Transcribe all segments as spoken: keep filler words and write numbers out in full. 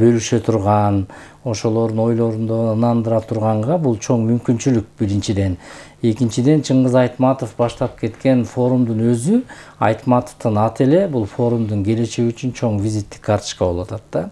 бөлүшө турган, ошолордун ойлорунду ынандыра турганга бул чоң мүмкүнчүлүк биринчиден. Экинчиден, Чыңгыз Айтматов баштап кеткен форумдун өзү, Айтматовдун аты эле бул форумдун келечеги үчүн чоң визиттик карточка болуп атат да.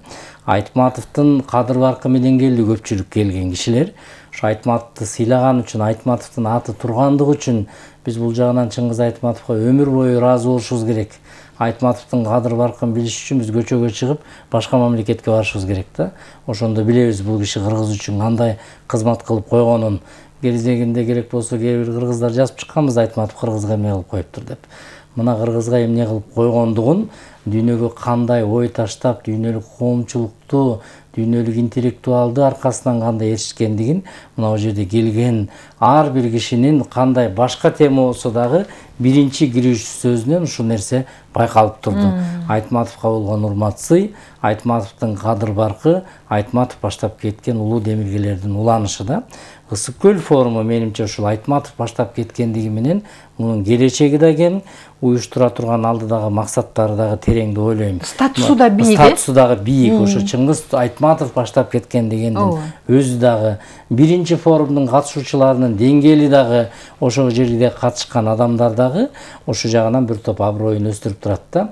Айтматовдун кадыр баркы менен келди көпчүлүк келген кишилер. Ошо Айтматовду сыйлаган үчүн, Айтматовдун аты тургандыгы үчүн биз бул жагынан Чыңгыз Айтматовго өмүр бою ыраазы болушубуз керек. Айтматовдун кадыр баркын билиш үчүн биз көчөгө чыгып, башка мамлекетке барышыбыз керек да. Ошондо билебиз бул киши кыргыз үчүн кандай кызмат кылып койгонун. Кезегинде керек болсо кээ бир кыргыздар жазып чыкканбыз, Айтматов кыргызга эмне кылып коюптур деп. Мына кыргызга эмне кылып койгондугун, дүйнөгө кандай ой таштап, дүйнөлүк коомчулукту, дүйнөлүк интеллектуалды аркасынан кандай эришкендигин мына бул жерде келген ар бир кишинин кандай башка тема болсо дагы биринчи кирүүчү сөзүнөн ушул нерсе байкалып турду. Айтматовго болгон урмат сый, Айтматовдун кадыр баркы, Айтматов баштап кеткен улуу демилгелердин уланышы да. Ысык көл форуму менимче ушул Айтматов баштап кеткендиги менен мунун келечеги да кең, уюштура турган алдыдагы максаттары дагы терең деп ойлойм. Статусу да бийик. Статусу дагы бийик. Ошо Чыңгыз Айтматов баштап кеткен дегендин өзү дагы, биринчи форумдун катышуучуларынын деңгээли дагы, ошол жерде катышкан адамдар дагы ошол жагынан бир топ аброюн өстүрүп турат да.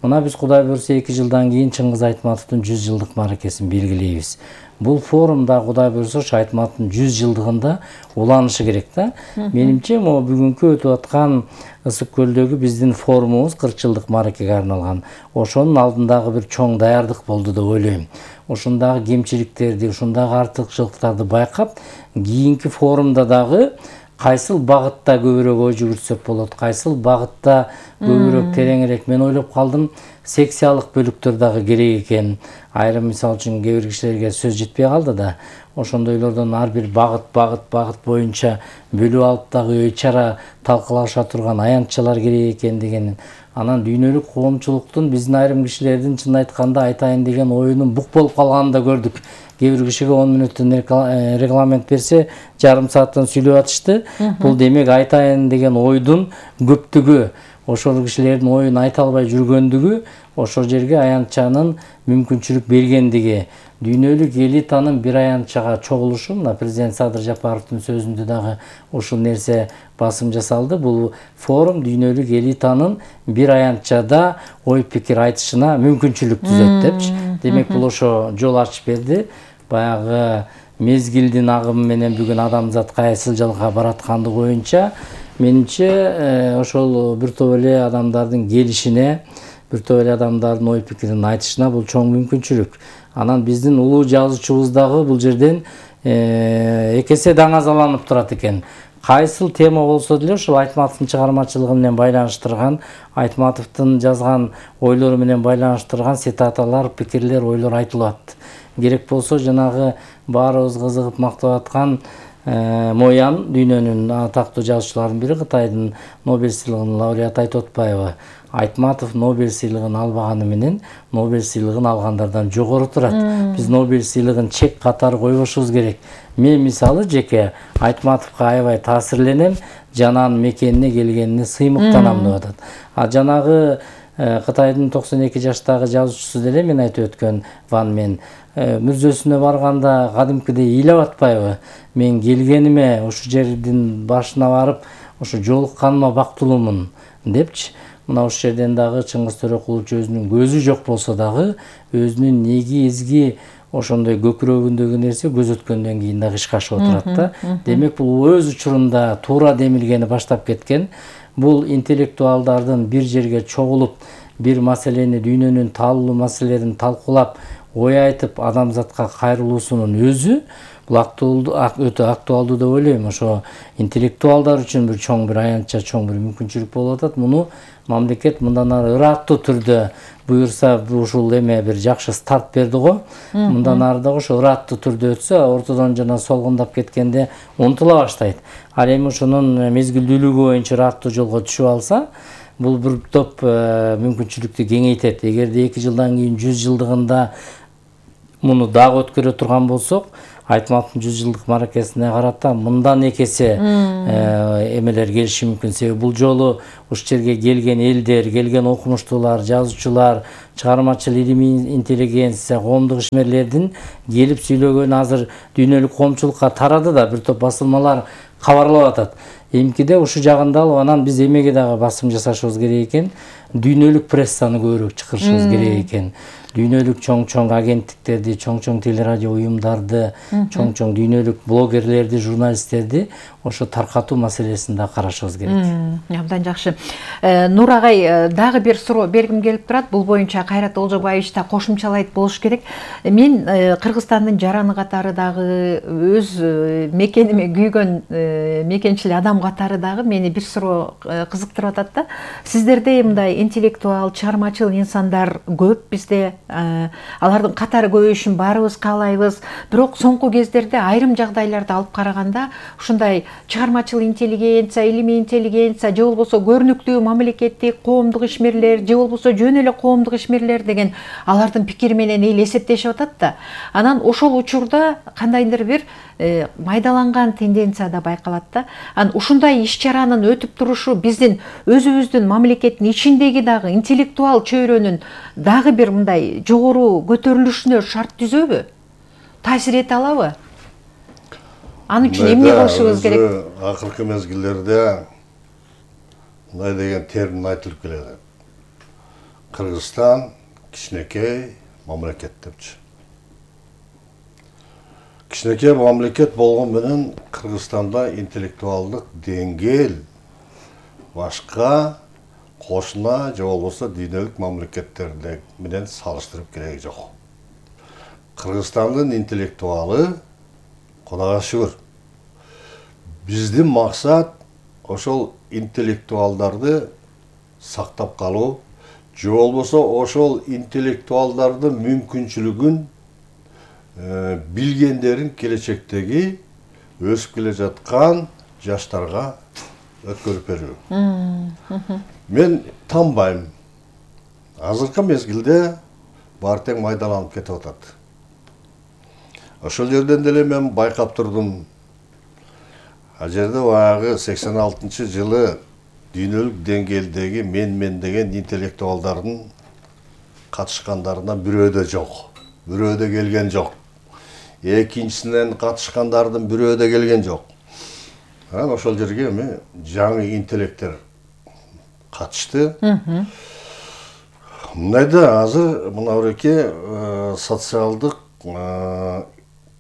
Мына биз Кудай буйрса эки жылдан кийин Чыңгыз Айтматовдун жүз жылдык мааракесин белгилейбиз. Бул форумда Кудай буйрса ошо Айтматовдун жүз жылдыгында уланышы керек да. Менимче могу бүгүнкү өтүп аткан Ысык көлдөгү биздин форумубуз кырк жылдык мааракеге арналган. Ошонун алдындагы бир чоң даярдык болду деп ойлойм. Ошондагы кемчиликтерди, ошондагы артыкчылыктарды байкап, кийинки форумда дагы кайсыл багытта көбүрөөк ой жүгүртсөк болот, кайсыл багытта көбүрөөк тереңирээк. Мен ойлоп калдым, секциялык бөлүктөр дагы керек экен. Айрым мисалы үчүн кээ бир кишилерге сөз жетпей калды да. Ошондойлордон ар бир багыт, багыт, багыт боюнча бөлүп алып дагы ой чара талкылаша турган аянтчалар керек экен деген. Анан дүйнөлүк коомчулуктун биздин айрым кишилердин чын айтканда айтайын деген оюнун бук болуп калганын да көрдүк. Кээ бир кишиге он мүнөттөн регламент берсе, жарым сааттан сүйлөп атышты. Бул демек айтайын деген ойдун көптүгү, ошол кишилердин оюн айта албай жүргөндүгү, ошол жерге аянтчанын мүмкүнчүлүк бергендиги. Дүйнөлүк элитанын бир аянтчага чогулушу, мына президент Садыр Жапаровдун сөзүндө дагы ушул нерсе басым жасалды. Бул форум дүйнөлүк элитанын бир аянтчада ой пикир айтышына мүмкүнчүлүк түзөт депчи. Демек бул ошо жол ачып берди. Баягы мезгилдин агымы менен бүгүн адамзат кайсыл жолго бараткандыгы боюнча менимче ошол бир топ эле адамдардын келишине, бир топ эле адамдардын ой пикирин айтышына бул чоң мүмкүнчүлүк. Анан биздин улуу жазуучубуз дагы бул жерден эки эсе даңазаланып турат экен. Кайсыл тема болсо деле ошол Айтматовдун чыгармачылыгы менен байланыштырган, Айтматовдун жазган ойлору менен байланыштырган цитаталар, пикирлер, ойлор айтылат. Керек болсо жанагы баарыбыз кызыгып мактап аткан Мо Ян, дүйнөнүн атактуу жазуучуларынын бири, Кытайдын Нобель сыйлыгынын лауреаты айтып атпайбы? Айтматов Нобель сыйлыгын албаганы менен Нобель сыйлыгын алгандардан жогору турат. Биз Нобель сыйлыгын чек катары койбошубуз керек. Мен мисалы жеке Айтматовго аябай таасирленем, жананын мекенине келгенине сыймыктанам деп атат. А жанагы Кытайдын токсон эки жаштагы жазуучусу деле мен айтып өткөн Ван Мен мүрзөсүнө барганда кадимкидей ыйлап атпайбы? Мен келгениме, ушул жердин башына барып, ушу жолукканыма бактылуумун депчи. Мына ушул жерден дагы Чыңгыз Төрөкулович өзүнүн көзү жок болсо дагы өзүнүн неги эзги ошондой көкүрөгүндөгү нерсе көз өткөндөн кийин дагы ишке ашып отурат да. Демек бул өз учурунда туура демилгени баштап кеткен. Бул интеллектуалдардын бир жерге чогулуп, бир маселени, дүйнөнүн таалуу маселелерин талкуулап, ой айтып, адамзатка кайрылуусунун өзү бул актуалдуу, өтө актуалдуу деп ойлойм. Ошо интеллектуалдар үчүн бир чоң бир аянтча, чоң бир мүмкүнчүлүк болуп атат. Муну мамлекет мындан ары ыраттуу түрдө буюрса, ушул эме бир жакшы старт берди го. Мындан ары дагы ошо ыраттуу түрдө өтсө, ортодон жана солгундап кеткенде унутула баштайт. Ал эми ошонун мезгилдүүлүгү боюнча ыраттуу жолго түшүп алса, бул бир топ мүмкүнчүлүктү кеңейтет. Эгерде эки жылдан кийин жүз жылдыгында муну дагы өткөрө турган болсок, Айтматовдун жүз жылдык маракесине карата мындан экесе эмелер келиши мүмкүн. Себеби бул жолу ушул жерге келген элдер, келген окумуштуулар, жазуучулар, чыгармачыл илимий интеллигенция, коомдук ишмерлердин келип сүйлөгөнү азыр дүйнөлүк коомчулукка тарады да, бир топ басылмалар кабарлап атат. Эмкиде ушул жагында алып, анан биз эмеге дагы басым жасашыбыз керек экен, дүйнөлүк прессаны көбүрөөк чакырышыбыз керек экен. Дүйнөлүк чоң-чоң агенттиктерди, чоң-чоң телерадио уюмдарды, чоң-чоң дүйнөлүк блогерлерди, журналисттерди ошо таркатуу маселесин да карашыбыз керек. Абдан жакшы. Нур агай, дагы бир суроо бергим келип турат. Бул боюнча Кайрат Олжобаевич да кошумчалайт болуш керек. Мен Кыргызстандын жараны катары дагы, өз мекениме күйгөн мекенчил адам катары дагы мени бир суроо кызыктырып атат да. Сиздерде мындай интеллектуал, чыгармачыл инсандар көп бизде. Алардын катары көбөйүшүн баарыбыз каалайбыз. Бирок соңку кездерде айрым жагдайларды алып караганда ушундай чыгармачыл интеллигенция, илимий интеллигенция, же болбосо көрүнүктүү мамлекеттик коомдук ишмерлер, же болбосо жөн эле коомдук ишмерлер деген алардын пикири менен эл эсептешип атат да. Анан ошол учурда кандайдыр бир майдаланган тенденция да байкалат да. Анан ушундай иш-чаранын өтүп турушу биздин өзүбүздүн мамлекеттин ичиндеги дагы интеллектуал чөйрөнүн дагы бир мындай жогору көтөрүлүшүнө шарт түзөбү? Таасир эте алабы? Аны үчүн эмне кылышыбыз керек? Акыркы мезгилдерде мындай деген термин айтылып келет. Кыргызстан кичинекей мамлекет депчи. Кичинекей мамлекет болгон менен Кыргызстанда интеллектуалдык деңгээл башка кошуна же болбосо дүйнөлүк мамлекеттерде менен салыштырып кереги жок. Кыргызстандын интеллектуалы Кудайга шүгүр. Биздин максат ошол интеллектуалдарды сактап калуу, же болбосо ошол интеллектуалдардын мүмкүнчүлүгүн, билгендерин келечектеги өсүп келе жаткан жаштарга өткөрүп берүү. Мен танбайм. Азыркы мезгилде баары тең майдаланып кетип атат. Ошол жерден деле мен байкап турдум. Ал жерде баягы сексен алтынчы жылы дүйнөлүк деңгээлдеги мен-мен деген интеллектуалдардын катышкандарынан бирөө да жок. Бирөө да келген жок. Экинчисинен катышкандардын бирөө да келген жок. Анан ошол жерге эми жаңы интеллекттер катышты. Мындайда азыр мына буреке социалдык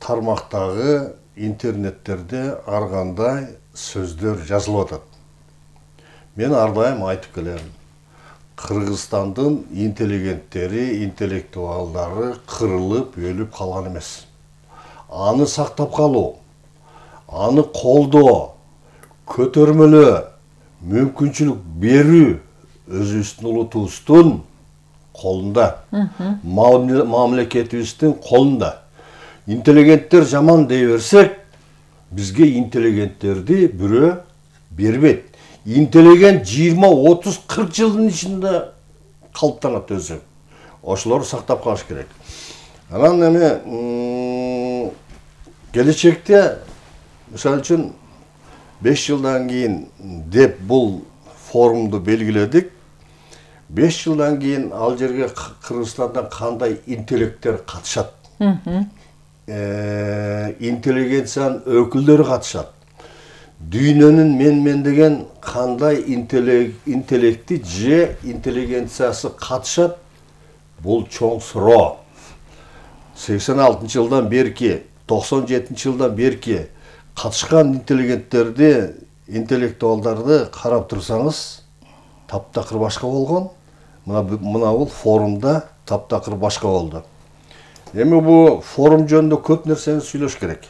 тармактагы интернеттерде ар кандай сөздөр жазылып атат. Мен ар дайым айтып келем. Кыргызстандын интеллигенттери, интеллектуалдары кырылып, өлүп калган эмес. Аны сактап калуу, аны колдоо, көтөрмөлөө, мүмкүнчүлүк берүү өзүбүздүн улутубуздун колунда, мамлекетибиздин колунда. Интеллигенттер жаман дей берсек, бизге интеллигенттерди бирөө бербейт. Интеллигент жыйырма, отуз, кырк жылдын ичинде калыптанат өзү. Ошолорду сактап калыш керек. Анан эми келечекте, мисалы үчүн беш жылдан кийин деп бул форумду белгиледик. беш жылдан кийин ал жерге Кыргызстандан кандай интеллекттер катышат? Интеллигенциянын өкүлдөрү катышат. Дүйнөнүн мен-мен деген кандай интеллекти же интеллигенциясы катышат? Бул чоң суроо. сексен алтынчы жылдан берки, токсон жетинчи жылдан берки катышкан интеллигенттерди, интеллектуалдарды карап турсаңыз, таптакыр башка болгон. Мына мына бул форумда таптакыр башка болду. Эми бул форум жөнүндө көп нерсени сүйлөш керек.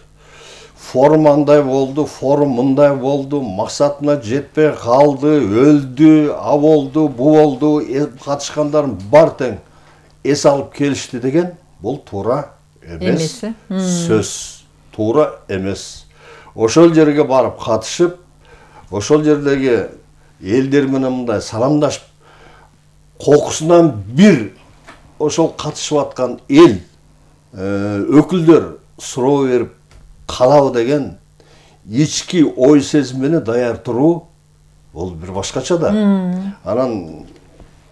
Форум андай болду, форум мындай болду, максатына жетпей калды, өлдү, а болду, бу болду, катышкандар бар тең эс алып келишти деген бул туура эмес. Сөз туура эмес. Ошол жерге барып катышып, ошол жердеги элдер менен мындай саламдашып, кокусунан бир ошол катышып аткан эл өкүлдөр суроо берип калабы деген ички ой сезим менен даяр туруу бул бир башкача да. Анан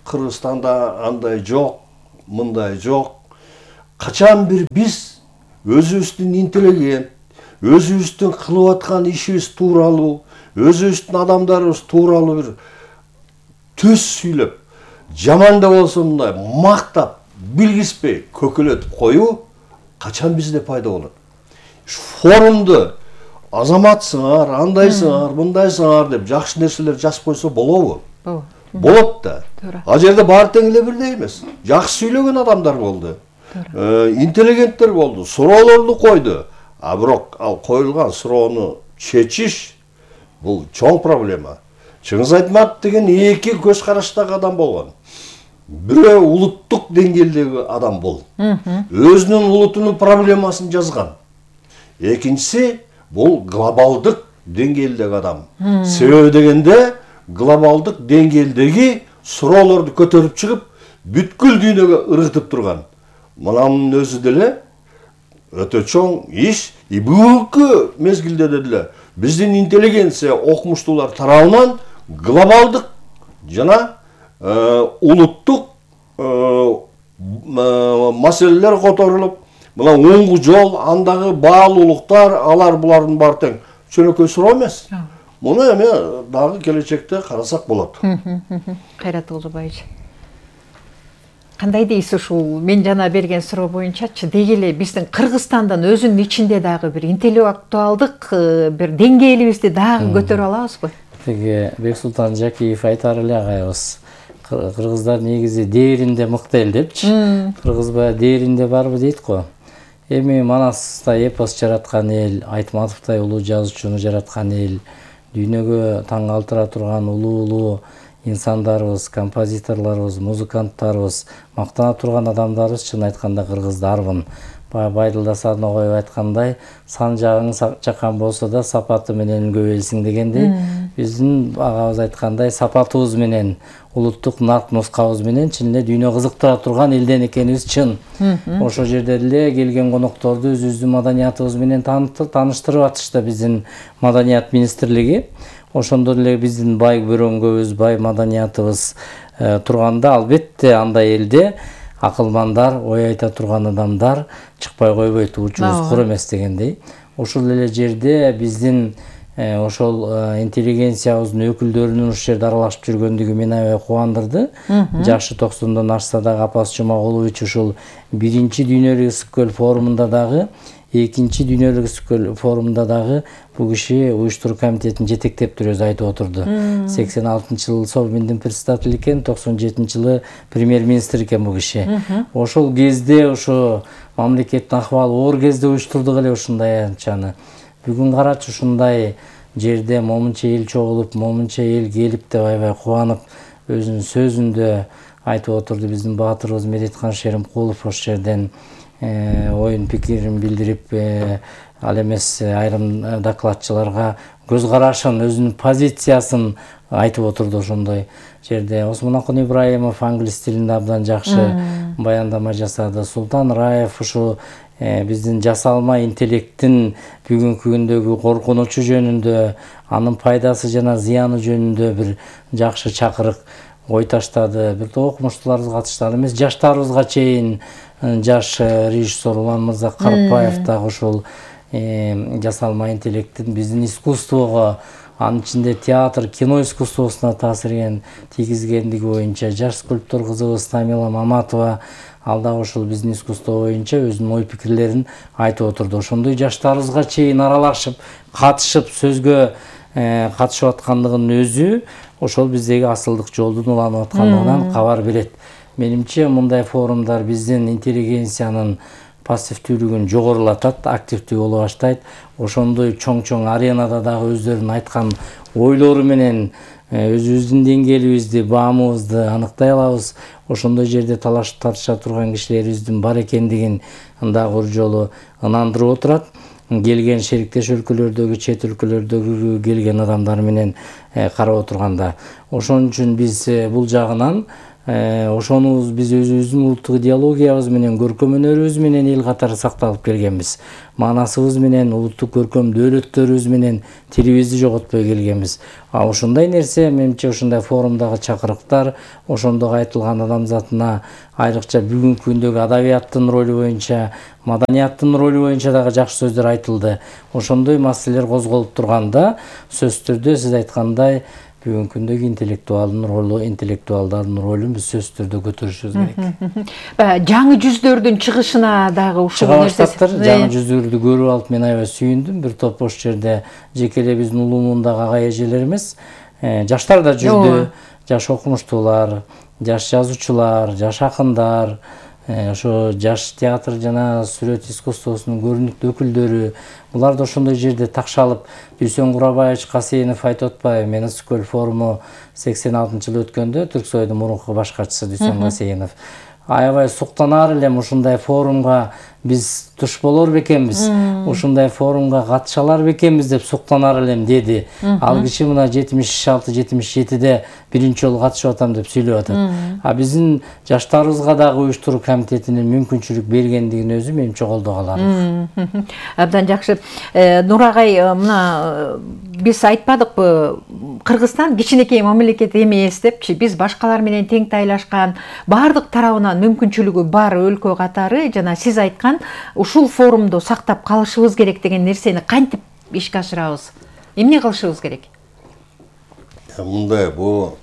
Кыргызстанда андай жок, мындай жок. Качан бир биз өзүбүздүн интеллигент, өзүбүздүн кылып аткан ишибиз тууралуу, өзүбүздүн адамдарыбыз тууралуу бир төс сүйлөп, жаман да болсо мындай мактап, билгиспей көкөлөтүп коюу качан бизде пайда болот? Форумду азаматсыңар, андайсыңар, мындайсыңар деп жакшы нерселер жазып койсо болобу? Болот да. Ал жерде баары тең эле бирдей эмес. Жакшы сүйлөгөн адамдар болду. Интеллигенттер болду, суроолорду койду. А бирок ал коюлган суроону чечиш бул чоң проблема. Чыңгыз Айтматов деген эки көз караштагы адам болгон. Бирөө улуттук деңгээлдеги адам бул. Өзүнүн улутунун проблемасын жазган. Экинчиси бул глобалдык деңгээлдеги адам. Себеби дегенде глобалдык деңгээлдеги суроолорду көтөрүп чыгып, бүткүл дүйнөгө ыргытып турган. Мунун өзү деле өтө чоң иш. И бүгүнкү мезгилде деле биздин интеллигенция окумуштуулар тарабынан глобалдык жана улуттук маселелер которулуп, мына оңгу жол, андагы баалуулуктар, алар булардын баары тең чөнөкөй суроо эмес. Муну эми дагы келечекте карасак болот. Кайрат Олжобаевич, кандай дейсиз ушул мен жана берген суроо боюнчачы? Деги эле биздин Кыргызстандан өзүнүн ичинде дагы бир интеллектуалдык бир деңгээлибизди дагы көтөрө алабызбы? Теги Бексултан Жакиев айтар эле агайыбыз, кыргыздар негизи дээринде мыкты эл депчи. Кыргызбай дээринде барбы дейт го. Эми Манастай эпос жараткан эл, Айтматовтой улуу жазуучуну жараткан эл, дүйнөгө таң калтыра турган улуу-улуу инсандарыбыз, композиторлорубуз, музыканттарыбыз, мактана турган адамдарыбыз чын айтканда кыргыздарбын. Баягы Байдылда Сарногоев айткандай, сан жагың чакан болсо да сапаты менен көбөйсүң дегендей, биздин агабыз айткандай сапатыбыз менен, улуттук нарк нускабыз менен чын эле дүйнө кызыктыра турган элден экенибиз чын. Ошол жерде эле келген конокторду өзүбүздүн маданиятыбыз менен тааныштырып атышты биздин Маданият министрлиги. Ошондо эле биздин бай бөрөңгөбүз, бай маданиятыбыз турганда, албетте андай элде акылмандар, ой айта турган адамдар чыкпай койбойт, учубуз кур эмес дегендей. Ошол эле жерде биздин ошол интеллигенциябыздын өкүлдөрүнүн ушул жерде аралашып жүргөндүгү мени аябай кубандырды. Жашы токсондон ашса дагы Апас Жумагулович ушул биринчи дүйнөлүк ысык форумунда дагы, экинчи дүйнөлүк ысык форумунда дагы бул киши уюштуруу комитетин жетектеп туруп өзү айтып отурду. сексен алтынчы жылы Совминдин председатели экен, токсон жетинчи жылы премьер-министр экен бул киши. Ошол кезде ошо мамлекеттин акыбалы оор кезде уюштурдук эле ушундай анчаны. Бүгүн карачы ушундай жерде момунча эл чогулуп, момунча эл келип деп аябай кубанып, өзүнүн сөзүндө айтып отурду. Биздин баатырыбыз Медеткан Шеримкулов ошол жерден оюн пикирин билдирип, ал эмес айрым докладчыларга көз карашын, өзүнүн позициясын айтып отурду ошондой жерде. Осмонакун Ибраимов англис тилинде абдан жакшы баяндама жасады. Султан Раев ушу биздин жасалма интеллекттин бүгүнкү күндөгү коркунучу жөнүндө, анын пайдасы жана зыяны жөнүндө бир жакшы чакырык ой таштады. Бир топ окумуштууларыбыз катышты, эмес жаштарыбызга чейин жаш режиссер Улан Мырза Карпаев дагы ушул жасалма интеллекттин биздин искусствого, анын ичинде театр, кино искусствосуна таасирин тийгизгендиги боюнча жаш скульптор кызыбыз Тамила Маматова ал дагы ушул биздин искусство боюнча өзүнүн ой пикирлерин айтып отурду. Ошондой жаштарыбызга чейин аралашып, катышып, сөзгө катышып аткандыгынын өзү ошол биздеги асылдык жолдун уланып аткандыгынан кабар берет. Менимче мындай форумдар биздин интеллигенциянын пассивдүүлүгүн жогорулатат, активдүү боло баштайт. Ошондой чоң-чоң аренада дагы өздөрүнүн айткан ойлору менен өзүбүздүн деңгээлибизди, баамыбызды аныктай алабыз. Ошондой жерде талашып тартыша турган кишилерибиздин бар экендигин дагы бир жолу ынандырып отурат. Келген шериктеш өлкөлөрдөгү, чет өлкөлөрдөгү келген адамдар менен карап отурганда. Ошон үчүн биз бул жагынан ошону биз өзүбүздүн улуттук идеологиябыз менен, көркөм өнөрүбүз менен эл катары сакталып келгенбиз. Маанасыбыз менен, улуттук көркөм дөөлөттөрүбүз менен тилибизди жоготпой келгенбиз. А ошондой нерсе, менимче ошондой форумдагы чакырыктар, ошондо айтылган адамзатына айрыкча бүгүнкү күндөгү адабияттын ролу боюнча, маданияттын ролу боюнча дагы жакшы сөздөр айтылды. Ошондой маселелер козголуп турганда, сөзсүз түрдө сиз айткандай бүгүнкү күндөгү интеллектуалдын ролу, интеллектуалдардын ролун биз сөзсүз түрдө көтөрүшүбүз керек. Жаңы жүздөрдүн чыгышына дагы ушул нерсептир. Жаңы жүздөрдү көрүп алып мен аябай сүйүндүм. Бир топ ош жерде жеке эле биздин улуумундагы ага эжелер эмес, жаштар да жүрдү. Жаш окумуштуулар, жаш жазуучулар, жаш акындар, ошо жаш театр жана сүрөт искусствосунун көрүнүктүү өкүлдөрү, булар да ошондой жерде такшалып, Дүйсен Курабаевич Касейинов айтып атпайбы, мен Ысык көл форуму сексен алтынчы жылы өткөндө Түрксойдун мурунку баш катчысы Дүйсен Касейинов аябай суктанаар элем, ушундай форумга биз туш болор бекенбиз, ушундай форумга катышалар бекенбиз деп суктанаар элем деди. Ал киши мына жетимиш алты жетимиш жетиде биринчи жолу катышып атам деп сүйлөп атат. А биздин жаштарыбызга дагы уюштуруу комитетинин мүмкүнчүлүк бергендигин өзү менимче колдого аларлык. Абдан жакшы. Нурагай, мына биз айтпадыкпы, Кыргызстан кичинекей мамлекет эмес депчи, биз башкалар менен тең тайлашкан, баардык тарабынан мүмкүнчүлүгү бар өлкө катары, жана сиз айткан ушул форумду сактап калышыбыз керек деген нерсени кантип ишке ашырабыз? Эмне кылышыбыз керек? Мындай, бул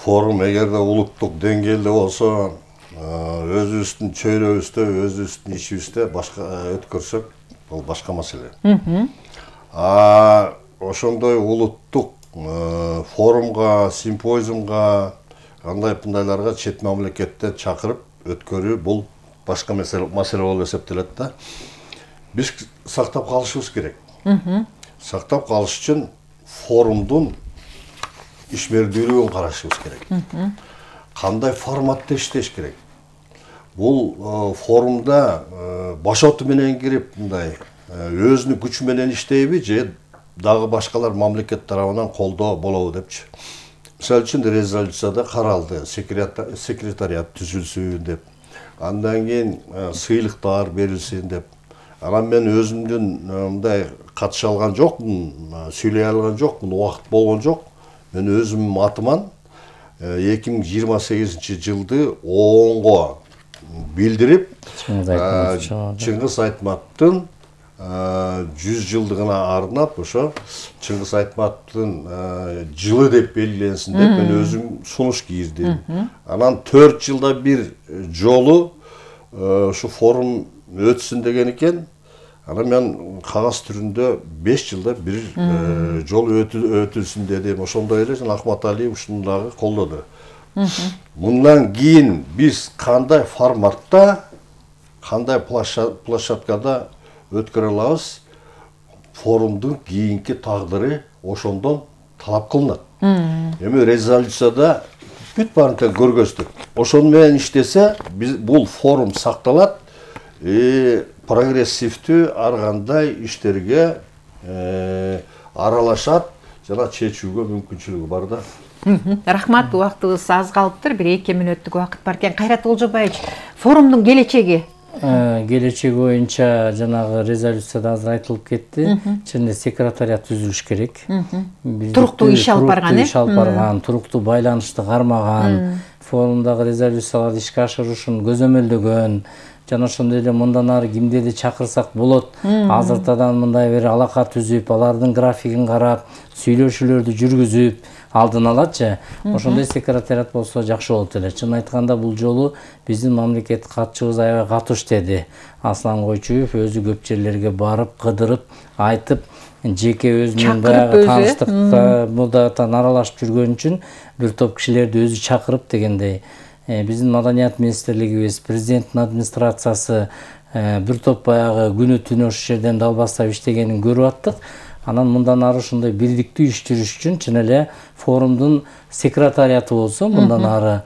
форум эгерде улуттук деңгээлде болсо, өзүбүздүн чөйрөбүздө, өзүбүздүн ичибизде башка өткөрсөк, бул башка маселе. А ошондой улуттук форумга, симпозиумга, кандай мындайларга чет мамлекеттен чакырып өткөрүү бул башка маселе болуп эсептелет да. Биз сактап калышыбыз керек. Сактап калыш үчүн форумдун ишмердүүлүгүн карашыбыз керек. Кандай форматта иштеш керек? Бул форумда башоту менен кирип, мындай өзүнүн күчү менен иштейби же дагы башкалар мамлекет тарабынан колдоо болобу депчи. Мисалы үчүн резолюцияда каралды, секретариат түзүлсүн деп, андан кийин сыйлыктар берилсин деп. Анан мен өзүмдүн мындай катыша алган жокмун, сүйлөй алган жокмун, убакыт болгон жок. Мен өзүмдүн атыман эки миң жыйырма сегизинчи жылды оонго билдирип, Чыңгыз Айтматтын жүз жылдыгына арнап, ошо Чыңгыз Айтматтын жылы деп белгиленсин деп мен өзүм сунуш кийдим. Анан төрт жылда бир жолу ушу форум өтсүн деген экен. Анан мен кагаз түрүндө беш жылда бир жол өтүлсүн дедим. Ошондой эле жана Акмат Алиев ушуну дагы колдоду. Мындан кийин биз кандай форматта, кандай площадкада өткөрө алабыз, форумдун кийинки тагдыры ошондон талап кылынат. Эми резолюцияда бүт баарын көргөздүк. Ошону менен иштесе, бул форум сакталат, прогрессивдүү ар кандай иштерге аралашат жана чечүүгө мүмкүнчүлүгү бар да. Рахмат, убактыбыз аз калыптыр, бир эки мүнөттүк убакыт бар экен. Кайрат Олжобаевич, форумдун келечеги? Келечеги боюнча жанагы резолюцияда азыр айтылып кетти. Чынында секретариат түзүлүш керек. Туруктуу иш алып барган, иш алып барган, туруктуу байланышты кармаган, форумдагы резолюцияларды ишке ашырышын көзөмөлдөгөн, жана ошондой эле мындан ары кимдерди чакырсак болот, азыртадан мындай бир алака түзүп, алардын графигин карап, сүйлөшүүлөрдү жүргүзүп, алдын алатчы. Ошондой секретариат болсо жакшы болот эле. Чын айтканда бул жолу биздин мамлекет катчыбыз аябай катуу иштеди. Аслан Койчуев өзү көп жерлерге барып, кыдырып, айтып, жеке өзүнүн баягы тааныштыкка мудатан аралашып жүргөн үчүн бир топ кишилерди өзү чакырып дегендей. Биздин маданият министрлигибиз, президенттин администрациясы бир топ баягы күнү түнү ошол жерден далбастап иштегенин көрүп аттык. Анан мындан ары ушундай бирдиктүү иш жүрүш үчүн чын эле форумдун секретариаты болсо, мындан ары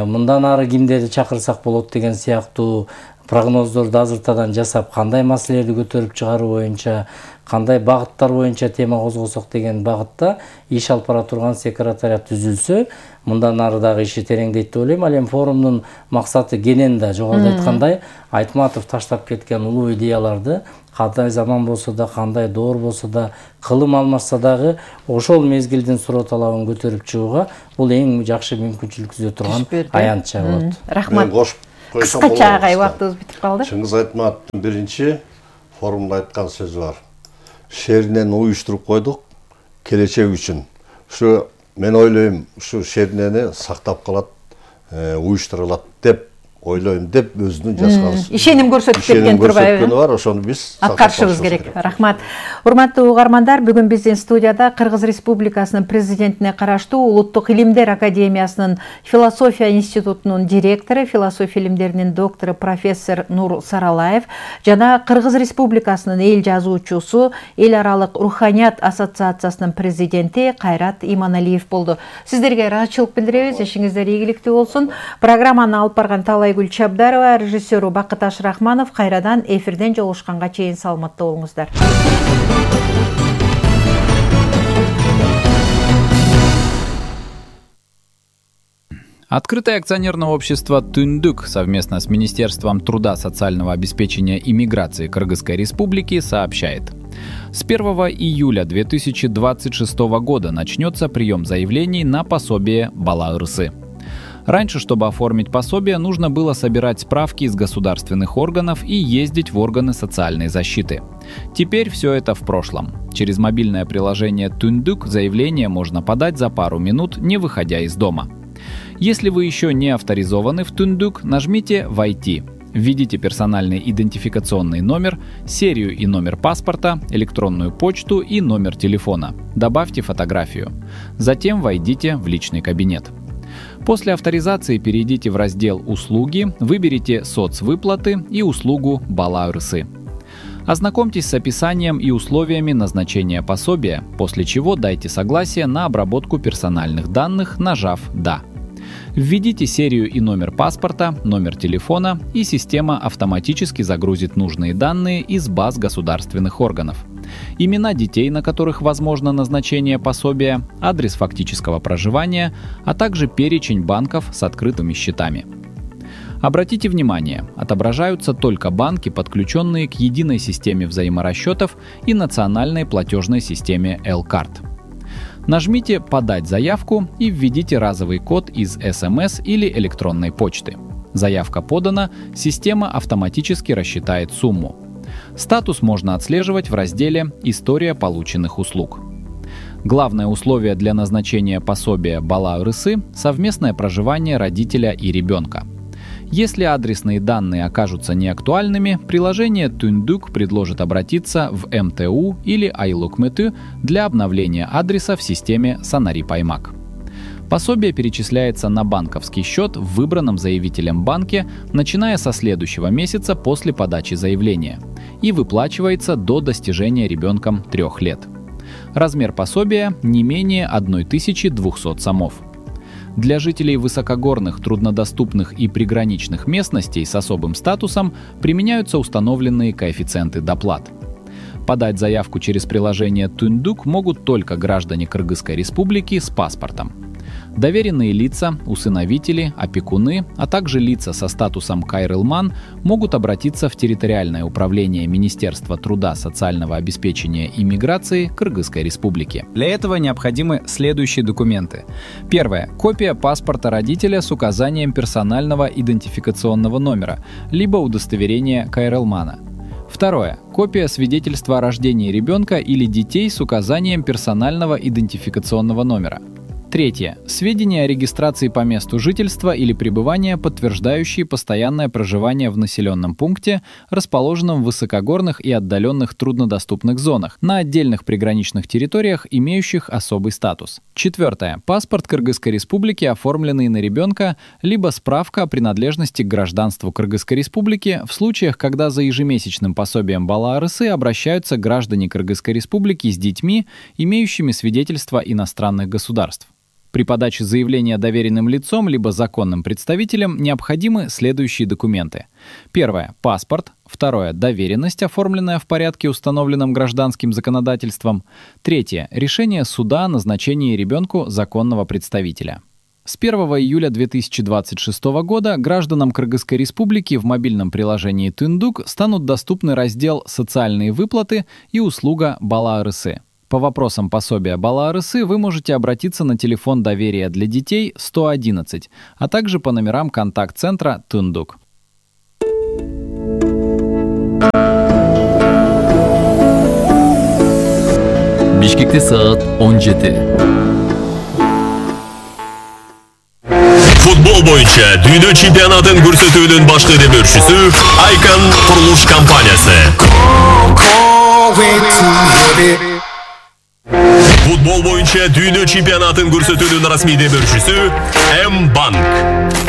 мындан ары кимдерди чакырсак болот деген сыяктуу прогноздорду азыртадан жасап кандай маселелерди көтөрүп чыгаруу боюнча, кандай багыттар боюнча тема козгосок деген багытта иш алып бара турган секретариат түзүлсө, мындан ары дагы иши тереңдейт деп ойлойм. Ал эми форумдун максаты кенен да жогоруда айткандай, Айтматов таштап кеткен улуу идеяларды кандай заман болсо да, кандай доор болсо да, кылым алмашса дагы ошол мезгилдин суроо талабын көтөрүп чыгууга бул эң жакшы мүмкүнчүлүк түзө турган аянтча болот. Рахмат. Кыскача агай, убактыбыз бүтүп калды. Чыңгыз Айтматовдун биринчи форумда айткан сөзү бар. Шеринени уюштуруп койдук келечек үчүн. Ушу мен ойлойм, ушу шеринени сактап калат, уюштурулат деп ойлойм деп өзүнүн жазган ишеним көрсөтүп кеткен турбайбы? бар, ошону биз аткарышыбыз керек. Рахмат. Урматтуу угармандар, бүгүн биздин студияда Кыргыз Республикасынын президентине караштуу Улуттук илимдер академиясынын философия институтунун директору, философия илимдеринин доктору профессор Нур Саралаев жана Кыргыз Республикасынын эл жазуучусу, эл аралык руханият ассоциациясынын президенти Кайрат Иманалиев болду. Сиздерге ыраазычылык билдиребиз, ишиңиздер ийгиликтүү болсун. Программаны алып барган Талайгүл Чабдарова, режиссеру Бакыташ Рахманов, кайрадан эфирден жолугушканга чейин саламатта болуңуздар. Открытое акционерное общество «Түндүк» совместно с Министерством труда, социального обеспечения и миграции Кыргызской Республики сообщает. С первого июля две тысячи двадцать шестого года начнется прием заявлений на пособие Бала Ырсы. Раньше, чтобы оформить пособие, нужно было собирать справки из государственных органов и ездить в органы социальной защиты. Теперь все это в прошлом. Через мобильное приложение «Түндүк» заявление можно подать за пару минут, не выходя из дома. Если вы еще не авторизованы в «Түндүк», нажмите «Войти». Введите персональный идентификационный номер, серию и номер паспорта, электронную почту и номер телефона. Добавьте фотографию. Затем войдите в личный кабинет. После авторизации перейдите в раздел «Услуги», выберите «Соцвыплаты» и услугу «Бала Ырсы». Ознакомьтесь с описанием и условиями назначения пособия, после чего дайте согласие на обработку персональных данных, нажав «Да». Введите серию и номер паспорта, номер телефона, и система автоматически загрузит нужные данные из баз государственных органов. Имена детей, на которых возможно назначение пособия, адрес фактического проживания, а также перечень банков с открытыми счетами. Обратите внимание, отображаются только банки, подключенные к единой системе взаиморасчетов и национальной платежной системе L-Card. Нажмите «Подать заявку» и введите разовый код из эс эм эс или электронной почты. Заявка подана, система автоматически рассчитает сумму. Статус можно отслеживать в разделе «История полученных услуг». Главное условие для назначения пособия Бала Ырсы – совместное проживание родителя и ребенка. Если адресные данные окажутся неактуальными, приложение «Түндүк» предложит обратиться в эм тэ у или Айлукмету для обновления адреса в системе Санарип-Аймак. Пособие перечисляется на банковский счет в выбранном заявителем банке, начиная со следующего месяца после подачи заявления, и выплачивается до достижения ребенком трех лет. Размер пособия не менее тысячи двухсот сомов. Для жителей высокогорных, труднодоступных и приграничных местностей с особым статусом применяются установленные коэффициенты доплат. Подать заявку через приложение «Түндүк» могут только граждане Кыргызской Республики с паспортом. Доверенные лица, усыновители, опекуны, а также лица со статусом Кайрылман могут обратиться в территориальное управление Министерства труда, социального обеспечения и миграции Кыргызской Республики. Для этого необходимы следующие документы. Первое. Копия паспорта родителя с указанием персонального идентификационного номера, либо удостоверения Кайрылмана. Второе. Копия свидетельства о рождении ребенка или детей с указанием персонального идентификационного номера. Третье. Сведения о регистрации по месту жительства или пребывания, подтверждающие постоянное проживание в населенном пункте, расположенном в высокогорных и отдаленных труднодоступных зонах, на отдельных приграничных территориях, имеющих особый статус. Четвертое. Паспорт Кыргызской Республики, оформленный на ребенка, либо справка о принадлежности к гражданству Кыргызской Республики в случаях, когда за ежемесячным пособием Бала Ырсы обращаются граждане Кыргызской Республики с детьми, имеющими свидетельство иностранных государств. При подаче заявления доверенным лицом либо законным представителем необходимы следующие документы. Первое – паспорт. Второе – доверенность, оформленная в порядке, установленном гражданским законодательством. Третье – решение суда о назначении ребенку законного представителя. С первого июля две тысячи двадцать шестого года гражданам Кыргызской Республики в мобильном приложении «Түндүк» станут доступны раздел «Социальные выплаты» и услуга «Бала Арысы». По вопросам пособия Бала Арысы вы можете обратиться на телефон доверия для детей сто одиннадцать, а также по номерам контакт-центра «Түндүк». Бишкекте саат он жети. Футбол боюнча дүйнө чемпионатын көрсөтүүнүн башкы демөөрчүсү Айкан курулуш компаниясы. Футбол боюнча дүйнө чемпионатын көрсөтүүнүн расмий демөөрчүсү М-банк.